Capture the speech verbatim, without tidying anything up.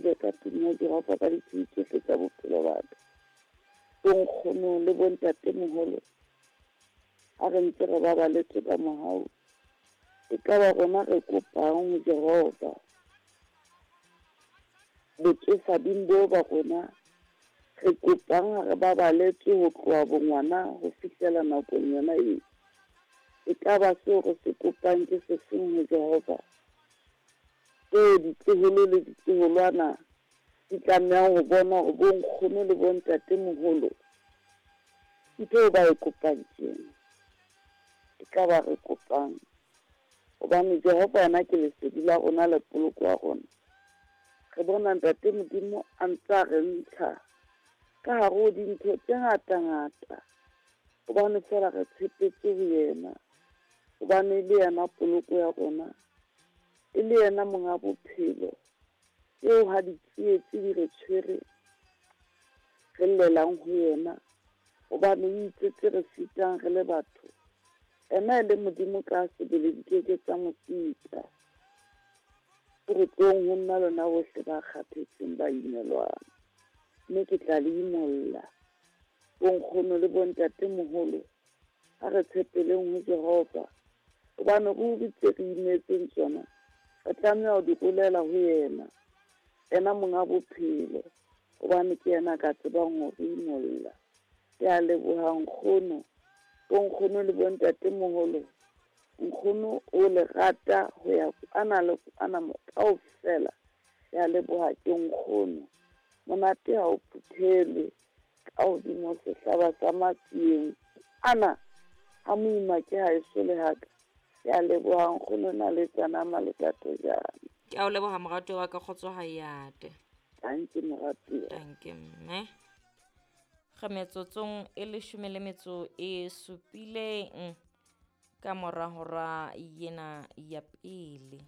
tsejwe ka tlung ya Jehova ka ditshiu tsohle tsa bophelo ba ka. Bonkgono le bontatemoholo, ha re ntse re babaletswe ka mohau, e ka ba rona re kopang ho Jehova. Botsofading bo ba rona, re kopang ha re babaletswe ho tloha bongwana ho fihlela nakong yona eo. E ka ba seo re se kopang ke sefeng ho Jehova? Tseo ditloholo le ditloholwana di tlamehang ho bona hore bonkgono le bontatemoholo ntho eo ba e kopang ke ena. E ka ba re kopang hobane Jehova yena ke lesedi la rona le poloko ya rona. Re bona Ntate Modimo a ntse a re ntsha ka hare ho dintho tse ngata-ngata, hobane feela re tshepetse ho yena, hobane e le yena poloko ya rona, e le yena monga bophelo. Eo ha ditsietsi di re tshwere, re llelang ho yena, hobane o itse tse re sitang re le batho. Ena e le Modimo ka sebele di keke tsa mo sita. O re tlong ho nna lona bohle ba kgathetseng ba imelwang, mme ke tla le imolla. Bonkgono le bontatemoholo, ha re tshepeleng ho Jehova, hobane ruri tse re imetseng tsona re tlameha ho di rolela ho yena, yena monga bophelo, hobane ke yena a ka tsebang ho re imolla. Ke a leboha nkgono, bonkgono le bontatemoholo. Nkgono o le rata ho ya kwana le kwana kaofela. Ke a leboha ke nkgono. Monate ha o phuthelwe ka hodimo sehlaba sa matsieng ana ha moima ke ha eso le haka. Ke a leboha nkgono na le tsana malethatojana. Ke a o leboha moratuwa wa ka, kgotso ha e ate. Tanki moratuwa. Tanki mme. Re metsotsong e leshome le metso e supileng ka mora hora yena ya pele.